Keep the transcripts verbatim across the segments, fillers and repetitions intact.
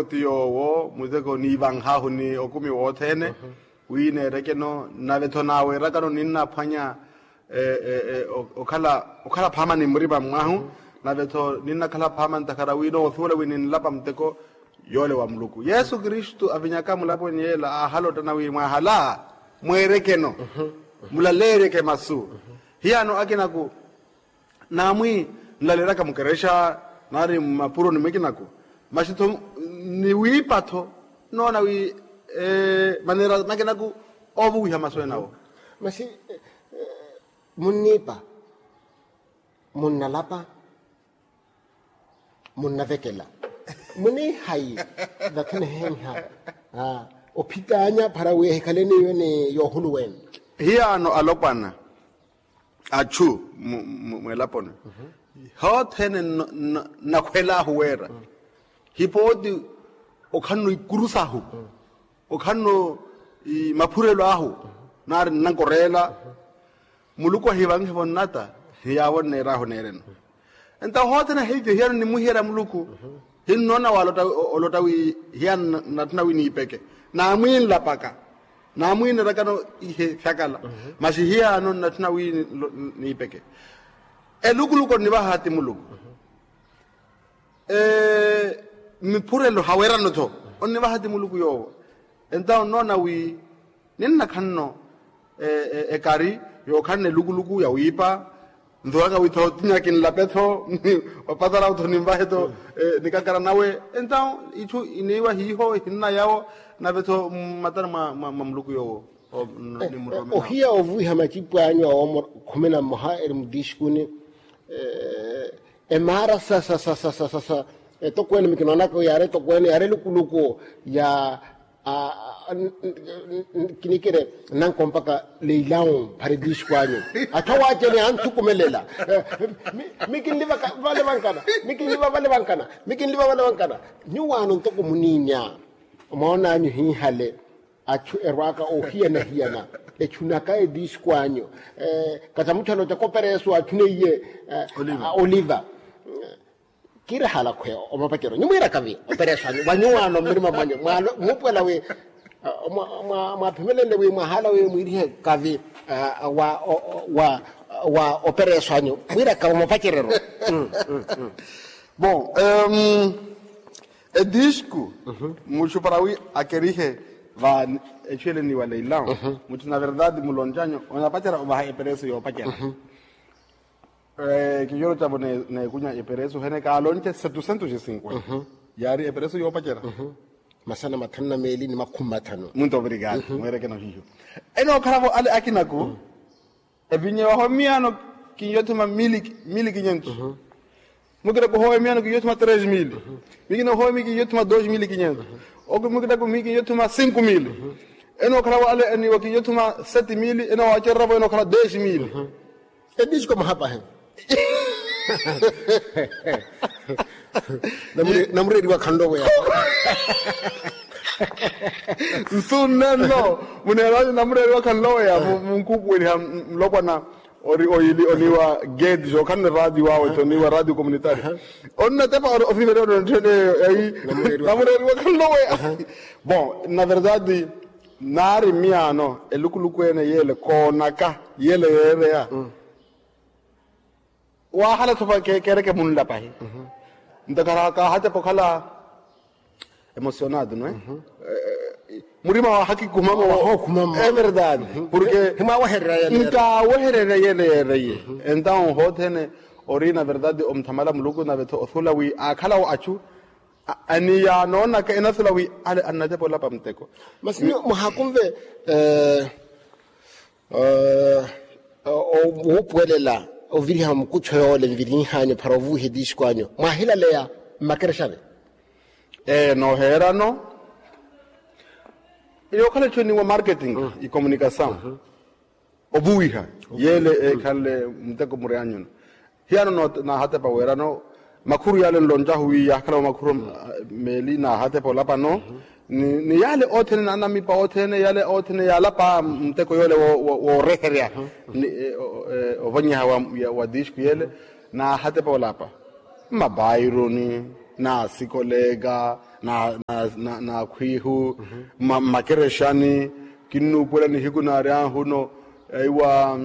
Ti yoowo muteko niivanhaahu ni okumi wothene. Wi neerekeno nave-tho naaweerakano ninnaphwanya okhala phaama ni murima mwahu. Nave-tho ninnakhala phaama ntakhara wi noosuwela wi ninlapa muteko yoole wa muluku yesu kristu avinyaka mulaponi yeela aahalottana wi mwahala mweerekeno mulaleeryeke masu. Hiyaano akinaku naamwi nlaleeryaka mukerexa nari mmapuroni mwikinaku. Maxi-tho ni wiipa-tho noona wi maneera makinaku oovuwiha masu enawo. Maxi munniipa munnalapa munnavekela muniihayi. Vathi nihenha ophitaanya para wi ehikhaleni iwe ni yoohuluwene. Hiyaano alopwana achu mwelaponi hothene nakhwelaahu weera hipooti okhanno ikurusahu okhanno maphurelo ahu nari nnankoreela. Muluku ahivanhevo nnata hiyaavo nneeraahu neereno. Entawo hothene ahiiviyo hiyano nimuhiyeerya muluku hinnoona wala olotta wi hiyano natthuna wi niipeke naamwiinlapaka naamwiineerakano ihe fyakala. Maxi hiyano nnatthuna wi niipeke elukuluku onnivaha ti muluku miphurelo haweerano-tho onnivaha ti muluku yoowo. Entawo nnoona wi ninnakhanno ekari yookhanna elukuluku yawiipa nthuraka wi-tho tinya kinlape-tho opatara-tho ninvahe-tho nikakara nawe. Entawo itthu iniiwa hiiho ehinna yawo nave-tho mmatani mwa muluku yoowo. Ohiya ovuwiha macipu anyu awo khumi na mmoha eri mutiixikuni emaara sa sa sa sa sa sa etokweene mikinoonaka yaari etokweene yaari elukuluku ya kinikire nankompaka leilawu phara etiixikuni anyu. Atthu awaacene anthukumelela mikinliva vale vankana mikinliva vale vankana mikinliva vale vankana. Nyuwaano ntoko muniinya omoonanyu hiihale achu erwaaka oohiyana-hiyana echunaka etiixikwanyu. Katamutthana oca kopereso achuneiye oliva. Kiirahala khweya omapacero nyumwiiraka vi opereso anyu vanyuwaano mmirima mwanyu muupuwela wi mwaphimelenle wi mwahaala wi mwiirihe kavi wa opereso anyu mwiiraka omapacerero. Bon, etiixku muxupara wi akerihe va echu ele ni wa leilão mutthu na verdade muloncanyu onapacera ovaha epereso yoopacera. Kinyoro cavo neekunya epereso hene kaalonce setucentos e cinquenta yaari epereso yoopacera. Masana mathanu na meeli ni makhumi mathanu. Muito obrigado mweerekeno hiiho enookhalavo ale akinaku. Evinya wahomiyaano kinyothuma mili kinyentos. Mukina kuhowa emiyaano kinyothuma tres mili. Mikina kuhowa emi kinyothuma dos mili kinyentos. Oku mukina kumi kinyothuma cinco mili. Enookhala wale eniwa kinyothuma seti mili enoowacereravo enookhala des mili. Edisco mahapahe. Namureeriwa khanloweya. Nsu nnenno muneeraanyu namureeriwa khanloweya munkuupuweliha nlopwana. Ori oyili oniwa gate jookhanne radio awe toniwa radio communitario. Onnatepa ori ofivere ononthene eyo eyi namureeriwa khanloweya. Bon, na verdade naari mmiyaano elukuluku ene yele koonaka yele yeereya. Waahala-tho keereke munlapahi ntakhala kaahatepa okhala emocionado no e. Murima wahakikhumamo. Everdade. Porque nkaawehererya yele yeereye. Entawo hothene ori na verdade omuthamala muluku nave-tho othula wi aakhalawo achu aniya noonaka enathula wi ale annatepa olapa muteko. Masi nyuwo muhakunve wuupuwelela oviriha mukuttho yoole nvirinhanyu para ovuwiha etiixiko anyu mwahilaleya mmakerexani. Ee nooheerano yookhala etthu eniwa marketing e communication. Ovuwiha yeele eekhanle muteko muri anyuno. Hiyano naahatepa weerano makhuru yaale nloncahu wi yaakhala wa makhuru meeli naahatepa olapano. Ni yaale othene naanamipa othene yaale othene yaalapa muteko yoole wooreherya ovonyeha wa tiisku yeele. Naahatepa olapa mmabaironi naasikoleeka na khwihu mmakerexani. Kinnuupuwela nihiku naari ahuno, iwa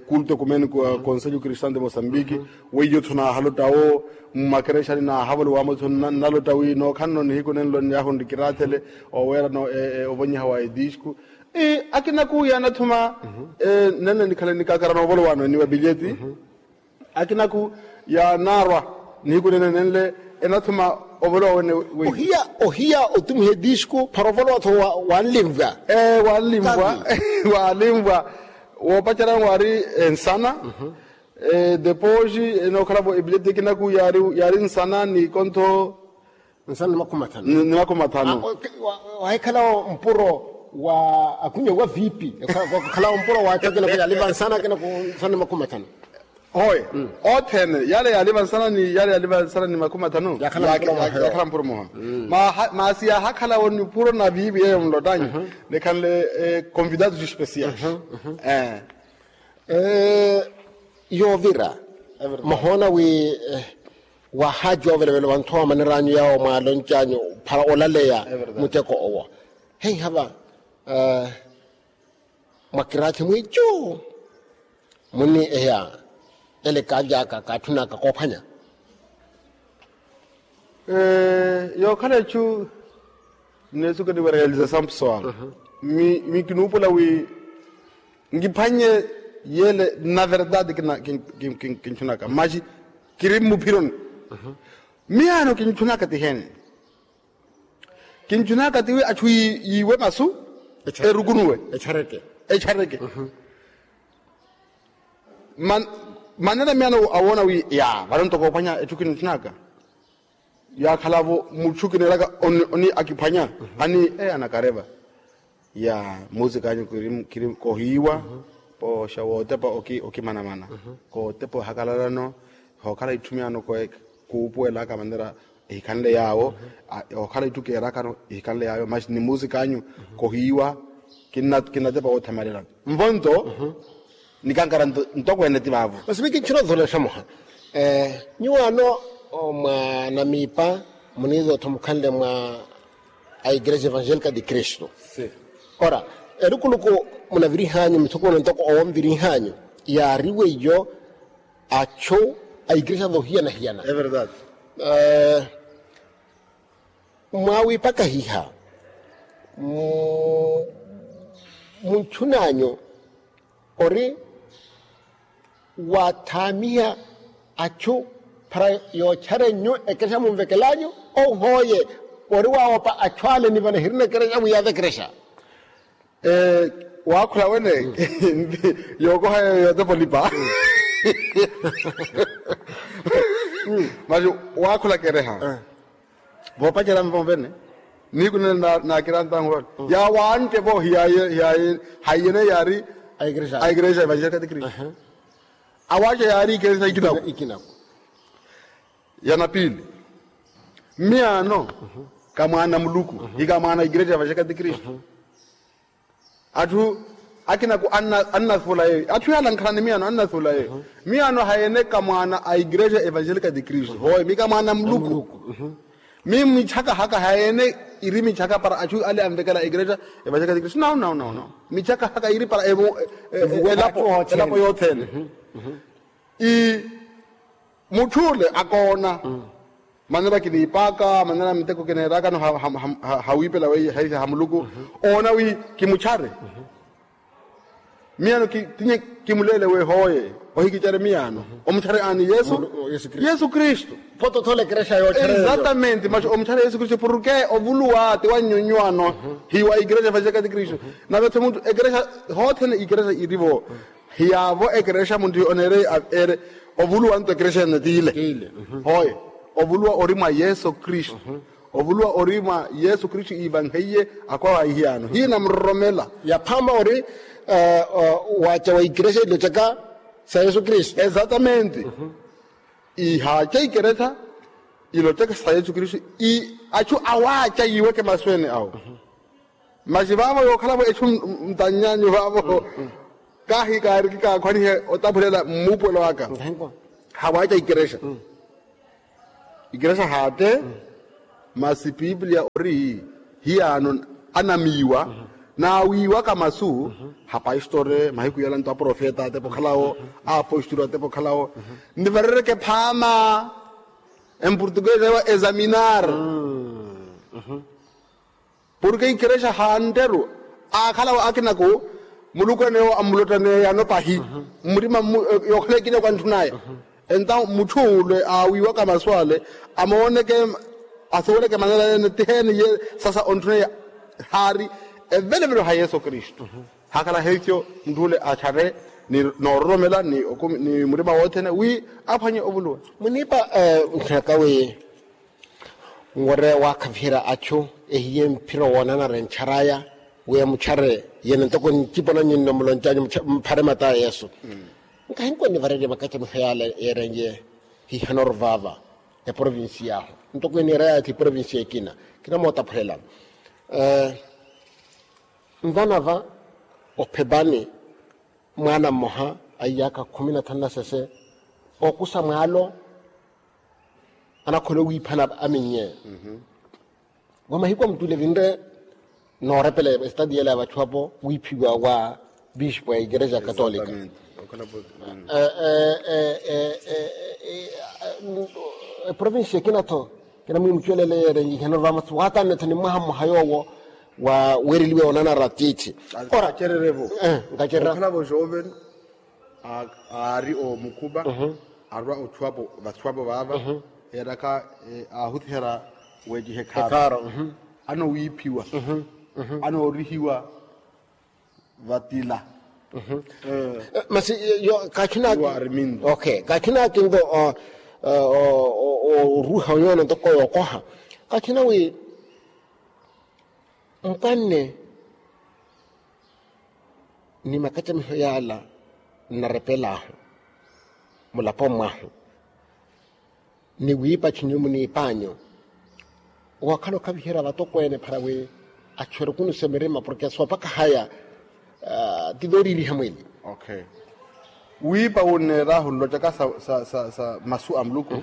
kulto kumeni kwa konselho kristian de mosambiki. Weiyo tho naahalotta wo mmakerexani naahavolo wamo tho nnalotta wi nookhanano nihiku nenlo nyahu nrikiraathele oweerano ovonyeha wa edisku. Akinaku yaanathuma nenle nikhale nikakarana ovolowaano eniwa bilyeti. Akinaku yaanaarwa nihiku nene nenle enathuma ovolowa wene. Ohiya otumiha edisku para ovolowa-tho. Wanlimvwa. Wanlimvwa. Wanlimvwa. Woopacerya waari ensana. Depois enookhala-vo ebileti ekinaku yaari nsana ni kontho. Nsana ni makhumi mathanu. Wahikhalawo mpuro wa akhunye wa vipi? Khalawo mpuro wa aco akinaku yaaliva nsana akinaku nsana ni makhumi mathanu. Hoye. Othene yale yaaliva nsana ni yale yaaliva nsana ni makhumi mathanu. Yakhala mpuro muha. Masi yaahakhalawo nipuro na vivi yeyo nlottanyu. Nikhanle convidados especiais. Yoovira. Muhoona wi waahacuwa ovelovelo vanthu awo maneranyu yawo mwaaloncanyu para olaleya muteko owo. Heiha va mwakiraathi mwiicu munni eya ele kaaly'aka kaatthun'aka koophwanya. Yookhala ecu nneesuka ni wa realizasampso awo. Mi kinuupola wi nkiphwanye yele na verdade kintthunaka maxi kiri mmuphironi. Miyaano kintthunaka tihene? Kintthunaka tiwi atthu yiiwe masu erukunuwe. Etxareke. Manera miyaano awoona wi ya vano ntoko ophwanya etthu kintthunaka. Yaakhala-vo mutthu kineeraka oni akiphwanya. Ani anakareva ya musik'anyu kiri kohiiwa pooxa wootepa okimanamana kootepa ohakalalano. Hookhala itthu miyaano kuupuwelaka manera ehikhanle yaawo. Hookhala itthu keerakano ehikhanle yaawo maxi ni musik'anyu kohiiwa. Kinnatepa woothamalela nvo nto nikankara ntokweene ti vaavo. Masi mi kinchina otholexa muha nyuwaano mwa namiipa muniizootho mukhanle mwa a igreja evangelica de cristo. Ora elukuluku munavirihanyu mithukuno ntoko owo nvirihanyu yaari weiyo achu a igreja voohiyana-hiyana. Mwaawipakahiha munchun'anyu ori waathaamiha achu para yootcharenyu ekerexa munvekelanyu? Ou hooye ori waawopa achu ale ni vano ehirina ekerexa wi yaave ekerexa. Waakhula wene yookoha yeyo yootepa olipa. Maxi waakhula kerexa voopacerya nvo vene nihiku nene naakira ntanhu vano yaawantte vo hiyaye haiyene yaari a igreja evangelica de cristo. Awaaca yaari igreja ikinaku. Ya na piili miyaano ka mwaana muluku ika mwaana igreja evangelica de cristo. Atthu akinaku annasuula yeeyo atthu yaala ankhala ni miyaano annasuula yeeyo. Miyaano hayeene ka mwaana a igreja evangelica de cristo hooye mi ka mwaana muluku. Mi michaka haka hayeene iri michaka para atthu ale anvekela a igreja evangelica de cristo nau nau nau nau michaka haka iri para elapo elapo yothene. Mutthu ole akoona manera kiniipaka manera miteko kineerakano hawiipela weiye haisa ha muluku oona wi kimuchare. Miyaano tinye kimuleele wi hooye ohikicare miyaano omuchare aani yesu kristu. Exatamente maxi omuchare yesu kristu porke ovuluwa ti wa nnyunyuwano hiwa igreja evangelica de cristo. Nave-tho mutthu ekrexa hoothene ikrexa iri-vo hiyaavo ekerexa munthu oneereye aveere ovuluwa nto ekerexa ene tiile. Hooye ovuluwa ori mwa yesu kristu. Ovuluwa ori mwa yesu kristu iivanheiye akwawa ihiyaano hiina muroromela. Yaphaama ori waaca wa ikerexa ilocaka sa yesu kristu. Exatamente. Ihaaca ikerexa ilocaka sa yesu kristu. Achu awaaca yiiweke masu ene awo. Maxi vaavo yookhala-vo echu ntannyanyu vaavo kahi kaariki kaakhwanihe otaphulela mmuupuwelo aka. Hawaaca ikerexa ikerexa haatte Masi piipiliya ori hiyaano anamiiwa naawiiwaka masu. Hapasitore mahiku yala nto aprofeta atepa okhalawo, apostolo atepa okhalawo. Nivarereke phaama. Empurtukesi ewa examinar. Porke ikerexa hanteru aakhalawo akinaku muluku enewo amulottaneya yano pahi. Mmurima yookhala ekinaku antthunaya. Entawo mutthu ule aawiiwaka masu ale amooneke, asuweleke manera yene tiheeni ye sasa ontthuneya haari evelevelo ha yesu kristu. Haakhala heikyo mutthu ule attharre ni noororomela ni murima wothene wi aphwanye ovuluwa. Muniipa nkhinaka wi nwere waakhaviherya achu ehiye mphiro woonanara entthara aya wi emuttharerye yene ntoko ncipona nyinno muloncanyu mphare mata a yesu. Nkahinkwa nivarerye makacamiho yaala yeerenye hihanoru vaava eprovincia ahu ntoko eniira yathi eprovincia ekina. Kinamootaphulela nvana va ophepani mwaana mmoha a iyaakha khumi na thanu na sese ookusa mwaalo anakhola owiiphana aminye. Wa mahiku a mutule vinre noorepela estadi yela ya vatthu apo wiiphiwa wa bishipu ya ikerexa katolika. Eprovinsi ekina-tho kina mwimucuwelele yeerenye ihenoru vamasu waatanne-tho ni mwaha mmoha yoowo wa weereliwe onanara tiithi. Ora nkacererya-vo. Nkacererya okhala vo joven aari omukhupa arwa otthu apo vatthu apo vaava eeraka aahuthihera weeciha ekhaaro. Anowiiphiwa anoorihiwa vatila. Masi kakhina kakhina akinto oruha yoono ntoko yookoha kakhina wi mpwanne ni makacamiho yaala nnarepel'ahu mulaponi mwahu ni wiipa chinyu muniip'anyu. Ookhala okhaviherya vatokweene para wi achu erukunusa emirima porke soopaka haya ti vooriiriha mwili. Wiipa wunneer'ahu nlocaka sa masu a muluku.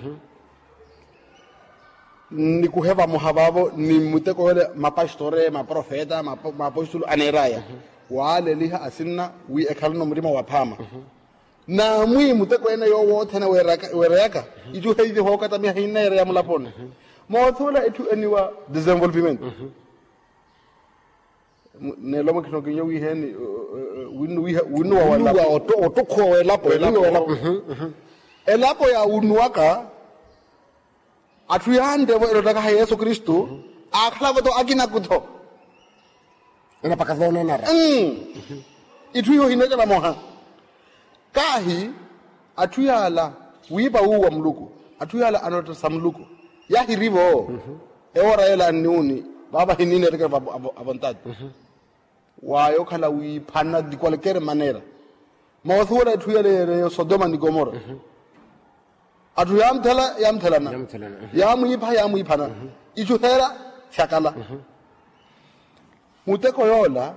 Nikuhe vamoha vaavo ni muteko yoole mapastore maprofeta maapostolo aneer'aya waaleliha asinna wi ekhalano murima wa phaama. Naamwi muteko ene yoowo othene weereyaka ichu heivi hookatamiha hinneereya mulaponi. Moothuwela etthu eniwa desenvolvimento. Neelo mwakhina okinyo wiiheni winnuwa walapo ottukhuwa welapo. Elapo ya wunnuwaka atthu yantevo elottaka ha yesu kristu aakhalavo-tho akinaku-tho. Enapaka voonanara itthu iho hineekela moha. Kaahi atthu yaala wiipa wuuwa muluku atthu yaala anotta sa muluku. Yaahirivo ewoora yeela anniwuni vaava hiniineereke avontati. Waaya okhala wiiphana di qualquer maneira. Moothuwela etthu yale yeereyo sodoma ni komora. Atthu yaamutthela yaamuthelana yaamwiipha yaamwiiphana ichu heera syakala. Muteko yoola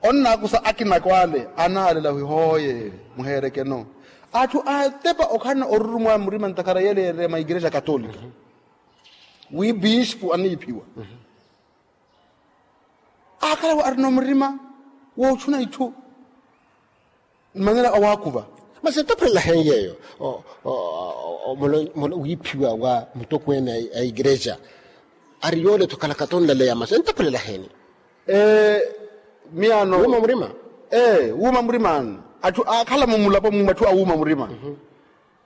onnaakusa akinako ale anaalela wi hooye muheerekeno. Atthu atepa okhalana orurumwa murima ntakhara yale yeereyo ma ikerexa katolika wi bispu aniiphiwa. Aakhala arina omurima woochuna itthu mmanera awaakuva. Masi entaphulela heyi yeeyo wiiphiwa wa mutokweene a ikerexa ari yoole-tho khalakato nlaleya masi entaphulela heeni? Miyaano wuuma murima. Ee wuuma murima atthu aakhala mumulapo mumwe atthu awuuma murima.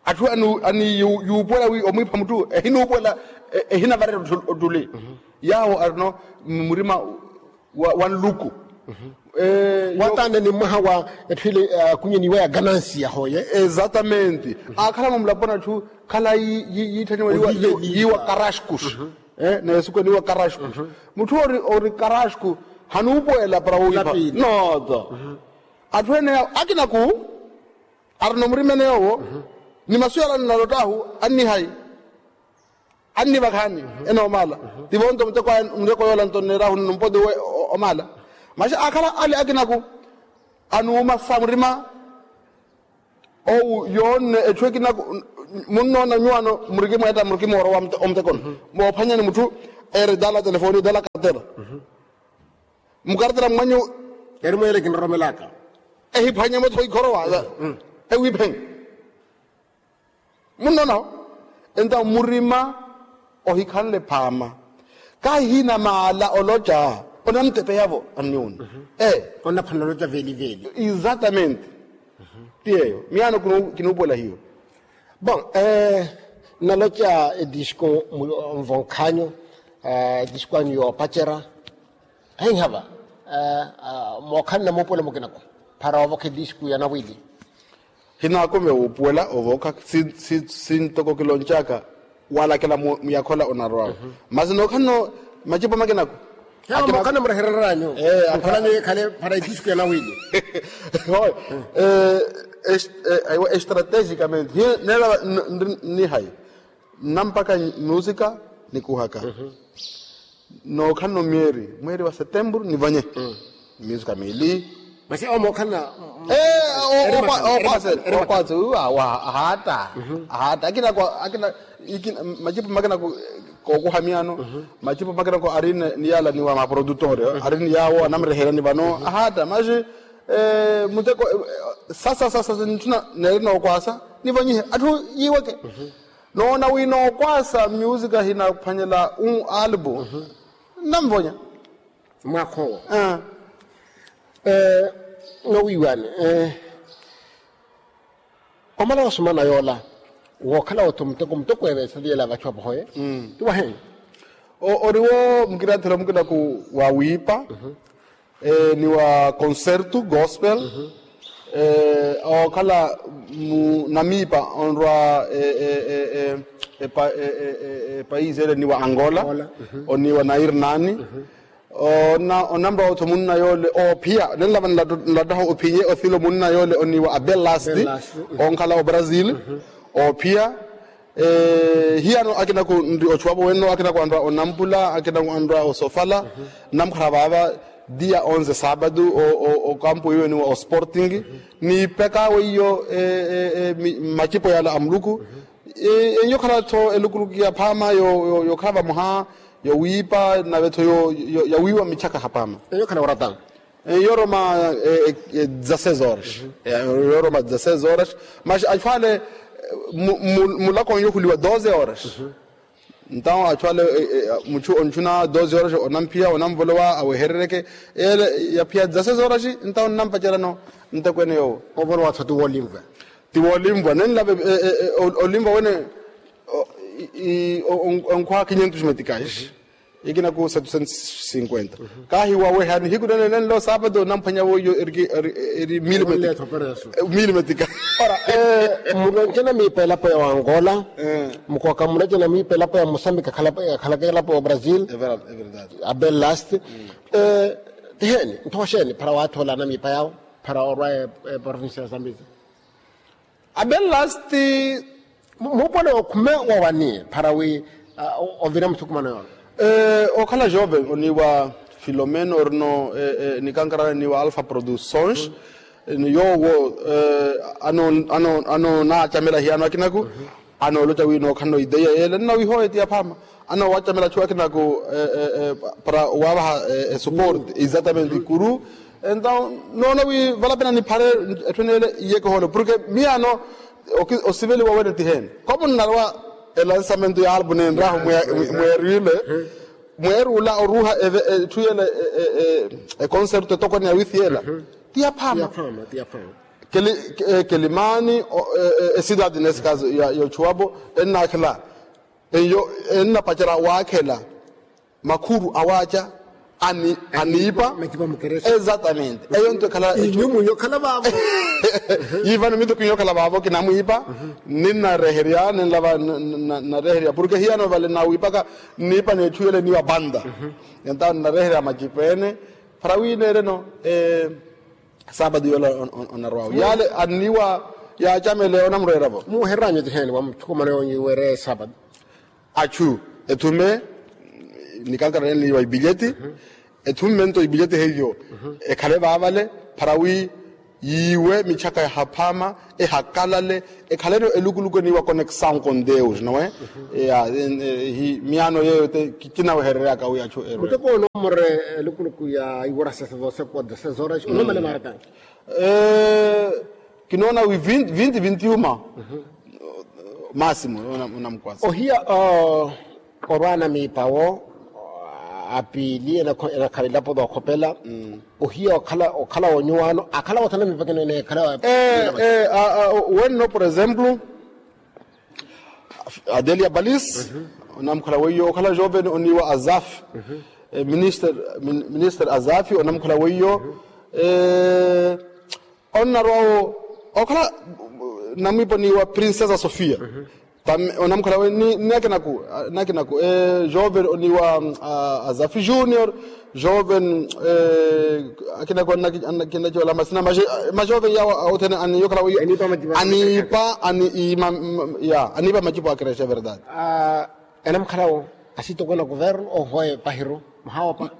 Atthu ani yuupuwela wi omwiipha mutthu ehinuupuwela ehinavarela ottuli yaawo arino murima wa nluku. Watanne ni mwaha wa etthu ile akunyeniwa ya ganansi yahooye. Exatamente. Aakhala mumulaponi atthu khalayi yiitthaniwa yiiwa karaskus. Neesuku eniiwa karaskus. Mutthu ori karasku hanuupuwela para wuuyipa. Noto atthu ene yawo akinaku arina omurima ene yoowo ni masu yala nnalott'ahu annihayi annivakhaani enoomala. Tivo nto muteko yoola nto nneer'ahu nnumpoti we omaala. Masi aakhala ale akinaku anuuma sa murima owu yoonne etthu ekinaku munnoona nyuwano murikimweetta murikimoorowa omutekono moophwanyani mutthu Eri dala telefoni dala kartela. Mukartela mwanyu. Eri mwele kinroromelaka. Ehiphwanya motho ikhorowa. Ewiphenya. Munnonaho. Enta murima ohikhanle phaama. Kahi hina maala oloca onamtepeyavo anniwunna. Onnaphwanela oloca veli veli. Exatamente. Ti yeyo miyaano kinuupuwela hiyo. Bon, naloca edisco nvonkhanyu. Edisco anyu yoopacera. Ahinhava mookhanna muupuwela mukinako para ovokha edisco ya nawili. Hinaakome wuupuwela ovokha. Sintoko kiloncaka walakela muyakhola onarwawo. Masi nookhanno macipo makinako. Mukhala murehereryanyu. Mukhalanyu yekhale para edisco ya nawili. Estrategicamente neela. Nihayi nnampaka musika nikuhaka. Nookhanno mweeri mweeri wa setemburu nivonye. Musika miili. Masi omo okhanna. Okwatse okwatse ahaatta. Ahaatta akina akina macipo makina kookuha miyaano. Macipo makina ko ari ni yaala ni wa maprodutor ari ni yaawo anamreheryani vano ahaatta masi muteko. Sasa sasa ntthu neeri nookwasa nivonyihe atthu yiiweke. Noona wi nookwasa musika hinaphwanyela un albu. Nnamvonya. Mwaakha owo. Nowiiwani omala osumana yoola wookhala otthu muteko muteko eveesa viyela vachu apohoye. Ti waheeni. Oriwo mukirathela mukinaku wa wiipa ni wa concerto gospel. Ookhala namiipa onrwa epaisi ele ni wa angola. Oni wa nairnani. Onamra otthu munna yoole oophiya nenlava nlattaha ophinye othile omunna yoole oniiwa abel lasti. Onkhala obrazil oophiya. Hiyano akinaku nri ochuwapo wenno akinaku anrwa onampula akinaku anrwa osofala. Namkhara vaava dia onze sabado okampu iwe niwa osporting. Niipeka weiyo macipo yala a muluku. Enyo khala-tho elukuluku ya phaama yookhala vamoha yowiipa nave-tho yawiiwa michaka haphaama. Enyo khala orata. Yoroma dezasseis horas. Yoroma dezasseis horas. Mas achwale mulako nyohuliwa doze horas. Ntawo achwale muchu onchuna doze horas onamphiya onamvolowa aweherereke ele yaphiya dezasseis horas. Ntawo nnampacerano ntekwene yowo. Ovolowa-tho ti wolimva. Ti wolimva nenlave olimva wene. Onkhuwa quinhentos meticais. Ikinaku setecentos cinquenta. Kahi waweha nihiku nene nenlo sapatu namphwanya woiyo eri mili metika. Ora mulonce namiipa elapo ya wangola. Mukoka mulonce namiipa elapo ya mosambika khalaka elapo ya brazil. Abel last. Tiheni nthoxeni phara waathola namiipa yawo phara orwa eprovincia ya zambezi. Abel last. Muupone okhume wowani phara wi ovira muthukumano yoola. Okhala joven oniiwa filomeno orino nikankara niiwa alpha produções. Ni yoowo anoonacamela hiyano akinaku anooloca wi nookhanno ideia yeele nnawihoye ti yaphaama. Anoowacamela achu akinaku para owavaha esuporte exatamente ikuru. Entaw noona wi valapena niphare etthu eneele iyekehoole porke miyano osiveliwa wene tihene. Komo nnarwa elansamento ya albu nenrahu mweerile mweerula oruuha etthu yela econcerto etokoni ya withi yela. Ti yaphaama. Kelimani ecidade nesse caso ya ochuwapo ennaakhela eyo ennapacerya waakhela makhuru awaaca aniipa. Exatamente eyo nto ekhala. Yiivano mito kinyokhala vaavo kinamwiipa ninnareherya ninlava nnareherya porke hiyano vale nnawiipaka nniipa netthu yele niiwa panta. Entawo nnareherya macipeene para wi neereno. Saapatu yoola onarwawo yale anniwa yaacamele onamurweeravo. Muuhereryanyu tiheni wa muthukumano yoonyu iweere saapatu. Achu ethume nikankara nene niiwa ipilyeti ethumme nto ipilyeti heiyo ekhale vaavale para wi Yiiwe michaka yahaphama, ehakalale, ekhaleno elukuluku eniiwa conexaw con deus nowe. Miyaano yeeyo te kinawehereryaka wi achu erwe. Muteko onomore elukuluku ya iwura sesesose kwa desesora onomale maratani. Kinoona wi vinti vinti uma. Maasimo onamukwasa ohiya. Orwaana miipa wo apiili enakhala ilapo dookhopela. Ohiya okhala wonyuwaano akhala wothana miipa kino enekhala. Wenno por exemplo, adelia balis onamukhala weiyo okhala joven oniiwa azaf. Minister azaf onamukhala weiyo. Onnarwawo okhala namwiipa oniiwa princesa sofia. Onamukhala weiyo ni akinaku ni akinaku joven oniiwa azafi junior. Joven akinaku annakiwala masina majoven yawo othene aniipa majipu a creche verdade. Enamukhalawo asitokweene a kuvernu ohoye pahiru muhawopa.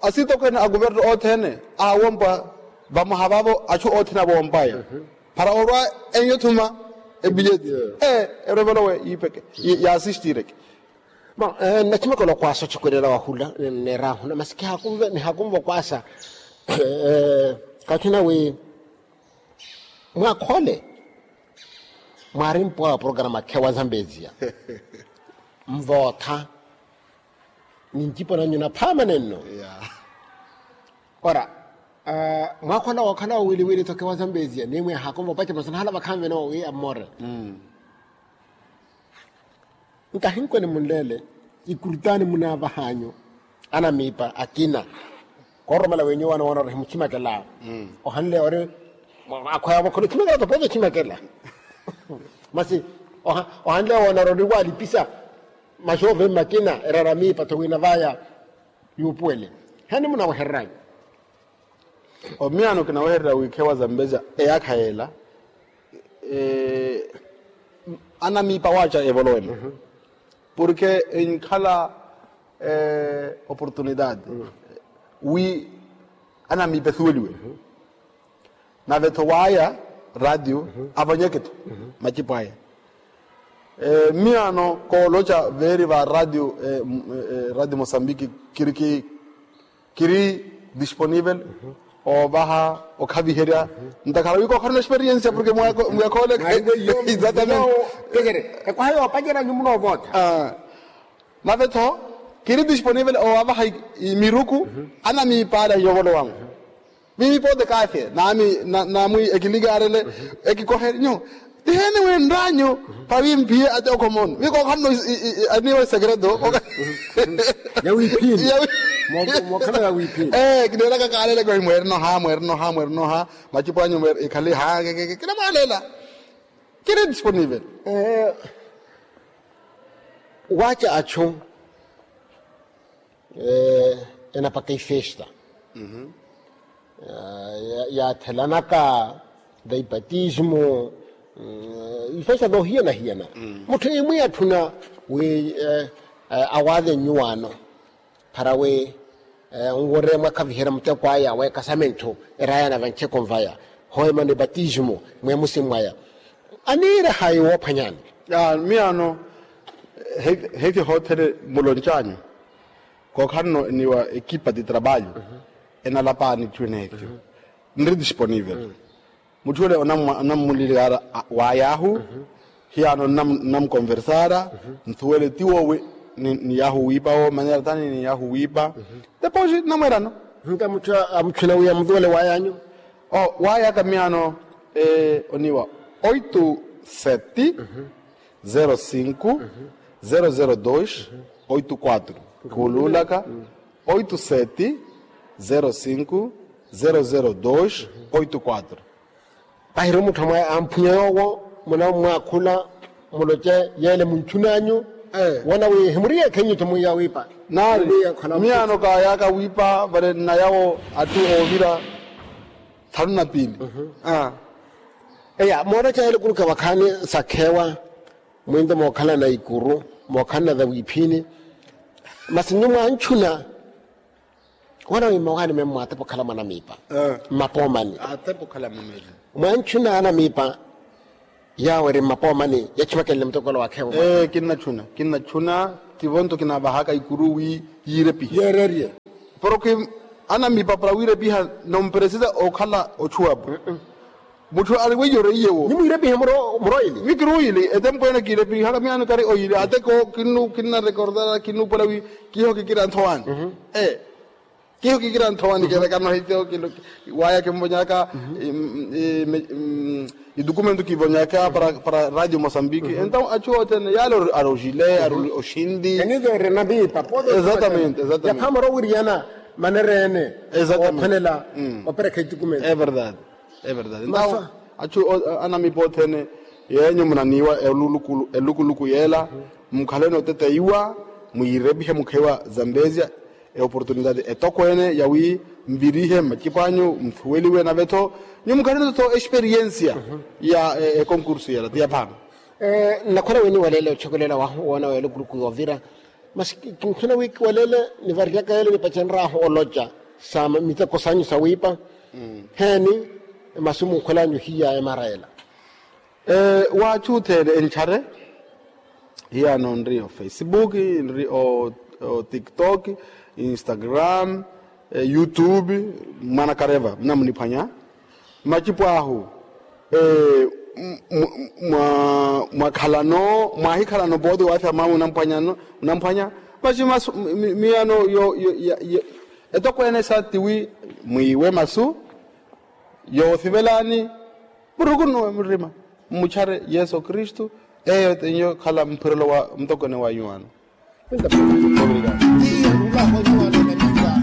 Asitokweene a kuvernu othene awompwa vamoha vavo achu othene avoompwaya para orwa enyo thuma ebileti. Erevolowe yiipeke yaasistireke. Bon, nnachimakela okwasa ochikwelela wahula neerahuna masi kihakunve nihakunve okwasa. Kathina wi mwakhole mwaari mpwa wa programa khewa zambezia. Mvootha ninjipo nanyu naphaama nenno. Ora mwakhole wookhala wowiliwili tho khewa zambezia ni mweehako mvopace masana hala vakhanvene wowi ammore. Nkahinkweni munleele ikurutani munaavah'anyu anamiipa akina. Koororomela w'enyu waana woona ori himuchimakela. Ohanle ori akhwaya vakhole ochimakela topoza ochimakela. Masi ohanle woona ori ori waalipisa maxoove mmakina erara miipa tho wina vaya yuupuwele. Heni munawehereranyu? Omiyaano kinawehererya wi khewa zambezia eyaakha yeela. Anamiipa waaca evolowe-mo porke enkhala oportunidade wi anamiipa esuweliwe. Nave-tho waaya ratio avanyeke-tho macipo aya. Miyaano kooloca veeri va ratio ratio mosambiki kiri ki kiri disponivel oovaha okhaviherya ntakhara wi kookharina experiensia porke muyakhoole. Exatamente. Ekwaha yoopacerya nyumuno ovootha. Nave-tho kiri disponivel oowavaha miruku anamiipa ale ahinyovolowangu. Mimi pote kafe nami namwi ekilikaarele ekikohe nyu. Tiheeni wenranyu pawi mpiye ate okhomono wi kookhanno aniiwa isekreto. Ya wiphini. Mokhala ya wiphini. Kineeraka kaalele kohi mweerinoha mweerinoha mweerinoha macipo anyu mweeri ikhale ha. Kinamwaalela kiri disponivel. Waaca achu enapaka ifesta yaathelanaka da ipatismo. Ifesta doohiyana-hiyana mutthu imwi atthuna wi awaale nnyuwaano para wi nworeye mwakhaviherya muteko aya wa ekasamentthu eraya na vancheko nvaya hoemano ipatismo mweemusi mwaya. Aniira hayi woophwanyani? Miyaano heke hoothene muloncanyu kookhanno eniwa ekipa ti trabalho enalapaani twineetyo nri disponivel. Mutthu ole onammulilikara waayahu hiyaano nnamukonversara nthuwele ti woowi ni yaahu wiipa wo manera tani ni yaahu wiipa. Depois nnamweerano nka mutthu amutthuna wi amuthuwele waayanyu. Waayaka miyaano oniwa oito sete zero cinco zero zero dois oito quatro. Kuuluulaka oito sete zero cinco zero zero dois oito quatro. Pahiri mutthu amphwanya yoowo munammwaakhula muloce yeele muntthun'anyu woona wi himuriye ekhenyu-tho mwiya wiipa. Naari miyaano kaayaaka wiipa vale nnayawo atthu oovira thanu na piili. Eya mooreca yeele kuruka vakhaani sakhewa mwinto mookhalana ikuru mookhalana za wiiphini. Masi nyu mwantthuna Wana wimma waani memmo atepa okhala mwanamiipa mmapoomani. Atepa okhala mwameeli. Mwanchuna anamiipa yaawo eri mmapoomani yachimakenle mutokolo wakheevo. Kinnachuna kinnachuna. Tivo nto kinavahaka ikuru wi yiirepihe yeererye. Porke anamiipa para wiirepiha nomperesisa okhala ochuwapo. Mutthu ari weiyo reiyewo nimwiirepihe muro oyili. Mikiri oyili etempo ene kiirepihaka miyaano kari oyili ateko kinnu kinnarekordara kinnuupola wi kiho kikira nthowani. Kiho kikira nthowani kerekano hitiho waya kimvonyaka idokumento kivonyaka para radio mosambiki entaw achu othene yale ari ojile ari oxinti. Eniveere namiipa pote exatamente exatamente. Yakhamara owiriyana manereene okhwelela operekha idokumento. Everdade. Everdade entaw achu anamiipa othene yeenyu munaniiwa elukuluku yeela mukhaleni oteteiwa mwiirepihe mukhewa zambezia eoportunidade etokweene yawi mvirihe mmacipo anyu mthuweliwe nave-tho nyuwo mukhaleni-tho esperiensia ya ekonkursu yela ti yaphano. Nnakhwela wini waleele ochokelela wahu woona wa elukuluku yoovira masi kinkhwela wi kiwaleele nivariyaka yele nipacenryahu oloca sa miteko sanyu sawiipa heeni masu munkhwelanyu hiya emara ela. Waachu othene enchare hiyano nri ofacebook nri otiktok instagram youtube mwana kareva munamuniphwanya macipo ahu mwakhalano mwahikhalano pooti wathi amamu unamphwanya masi miyano etokweene sa tiwi mwiiwe masu yoothivelani murukunuwe murima mmuchare yesu kristu eyo tenyo khala mphirelo wa mutokone wa yuwano.